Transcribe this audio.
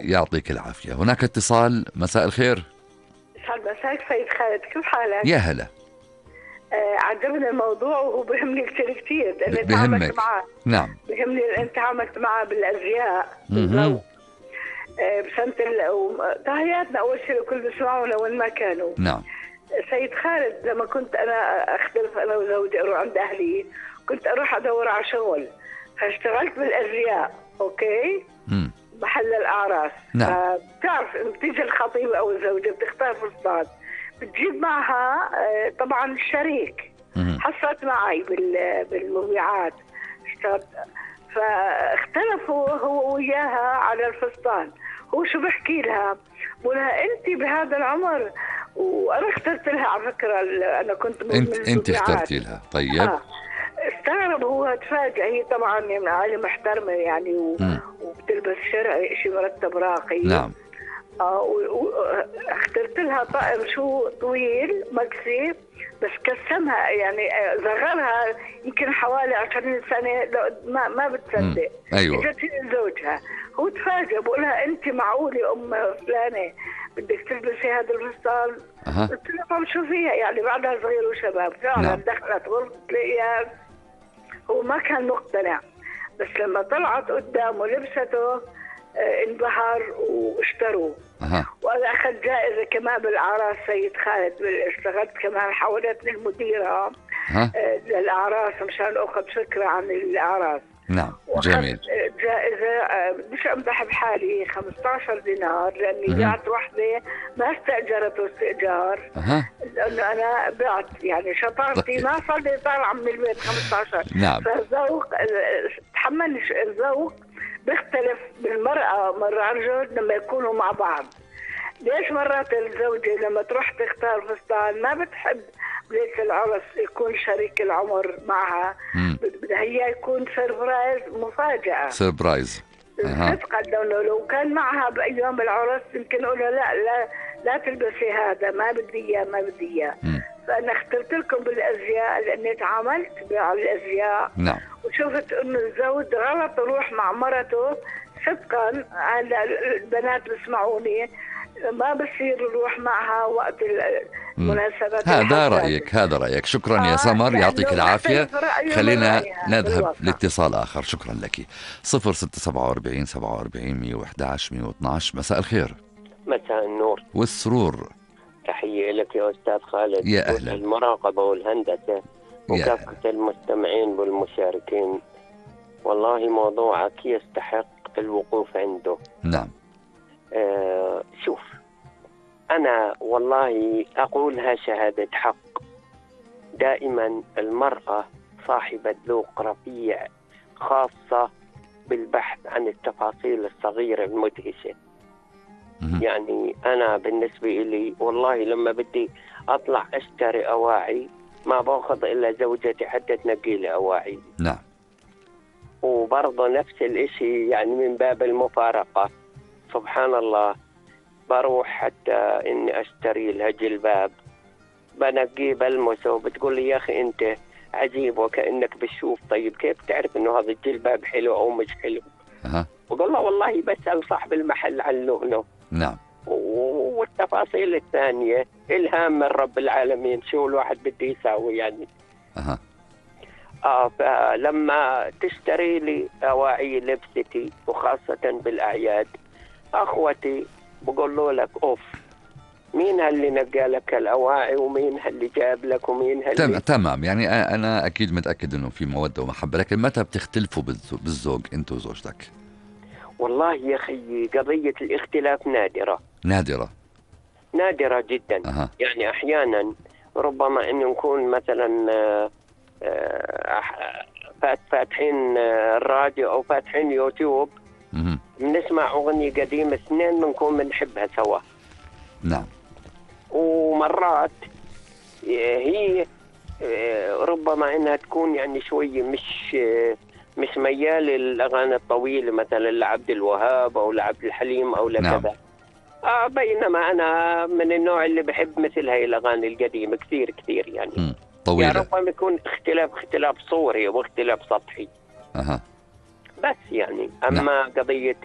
يعطيك العافية. هناك اتصال. مساء الخير. يسعد مساك سيد خالد، كيف حالك؟ يا هلا. عجبني الموضوع وهو بهمني كثير لأني بهمك. تعاملت معه. نعم. بهمني لأني تعاملت معه بالأزياء بالذوق. بسنة تحياتنا أول شيء لكل بيسمعونا وين ما كانوا. نعم. سيد خالد، لما كنت أنا أختلف أنا وزوجي أروح عند أهلي، كنت أروح أدور على شغل، فاشتغلت بالأزياء. أوكي؟ محل الأعراس. نعم. بتعرف بتيجي الخطيبة أو الزوجة بتختار فستان، بتجيب معها طبعا الشريك. حصلت معي بالمبيعات، اشتغلت، فاختلفوا هو وياها على الفستان. هو شو بحكي لها؟ بقولها انت بهذا العمر، وانا اخترت لها على فكره، انا كنت انت اخترتي لها. طيب. استغرب هو، تفاجئ. هي طبعا من عائله محترمه يعني وبتلبس شرعي، شيء مرتب راقي. نعم. اخترت لها طقم شو طويل مكسي، بس كسمها يعني صغرها يمكن حوالي 20 سنه، ما بتصدق. ايوه. اجت زوجها، هو تفاجئ، بقولها انت معقوله ام فلانه بدك تلبسي هذا الفستان؟ قلت لها طب شو فيها يعني، بعدها صغير وشباب. فعلا دخلت غرفه تلاقيها، هو ما كان مقتنع، بس لما طلعت قدامه لبسته انبهر واشتروه. وانا اخذت جائزه كمان بالاعراس سيد خالد. اشتغلت كمان، حولتني المديره للاعراس مشان اخذ فكره عن الاعراس. نعم. جميل. جائزه بديش امدح بحالي 15 دينار، لاني بعت وحده ما استاجرته استئجار، لانه انا بعت يعني شطارتي ما صار لي طالعه من البيت 15. نعم. فالذوق، تحملني الذوق بيختلف بالمرأة مرة الرجل لما يكونوا مع بعض. ليش مرات الزوجة لما تروح تختار فستان ما بتحب ليش العرس يكون شريك العمر معها، بدها هي يكون سربرايز، مفاجأة. سربرايز. صدقا لو كان معها بأيام العرس يمكن أقول لا تلبسي هذا، ما بدي إياه ما بدي إياه. فأنا اخترت لكم بالأزياء لأني تعاملت بالأزياء. نعم. وشفت إنه الزوج غلط يروح مع مرته. صدقا هلا البنات بيسمعوني، ما بصير يروح معها وقت المناسبات. هذا رأيك. شكرا يا سمر، يعطيك العافية. خلينا نذهب لاتصال آخر. شكرا لك. 0647 47 111 112. مساء الخير. مساء النور والسرور. تحية لك يا أستاذ خالد. يا أهلا. المراقبة والهندسة وكافة المستمعين والمشاركين. والله موضوعك يستحق الوقوف عنده. نعم. شوف، أنا والله أقولها شهادة حق، دائما المرأة صاحبة ذوق رفيع، خاصة بالبحث عن التفاصيل الصغيرة المدهشة. يعني أنا بالنسبة لي والله لما بدي أطلع أشتري أواعي ما باخذ إلا زوجتي حتى تنقي لي أواعي. نعم. وبرضه نفس الإشي يعني من باب المفارقة، سبحان الله، بروح حتى إني أشتري لها جلباب، بنقيه بلمسه وبتقول لي يا أخي أنت عجيب وكأنك بتشوف. طيب كيف تعرف إنه هذا الجلباب حلو أو مش حلو؟ وقال له والله بسأل صاحب المحل عن لونه. نعم. والتفاصيل الثانية إلهام من رب العالمين، شو الواحد بده يساوي يعني. فلما تشتري لي أواعي لبستي وخاصة بالأعياد، أخوتي بقول لك أوف، مين هاللي نقى لك الأواعي ومين هاللي جاب لك ومين هاللي تمام. يعني أنا أكيد متأكد أنه في مودة ومحبة، لكن متى بتختلفوا بالزوج أنت وزوجتك؟ والله يا أخي قضية الاختلاف نادرة جدا. يعني أحيانا ربما أن نكون مثلا فاتحين الراديو أو فاتحين يوتيوب، بنسمع أغنية قديمة اثنين بنكون بنحبها سوا. نعم. ومرات هي ربما إنها تكون يعني شوية مش ميال للأغاني الطويلة مثلا لعبد الوهاب أو لعبد الحليم أو لكذا. بينما أنا من النوع اللي بحب مثل هاي الأغاني القديمة كثير يعني. طويلة. يعني ربما يكون اختلاف صوري واختلاف سطحي. بس يعني أما قضية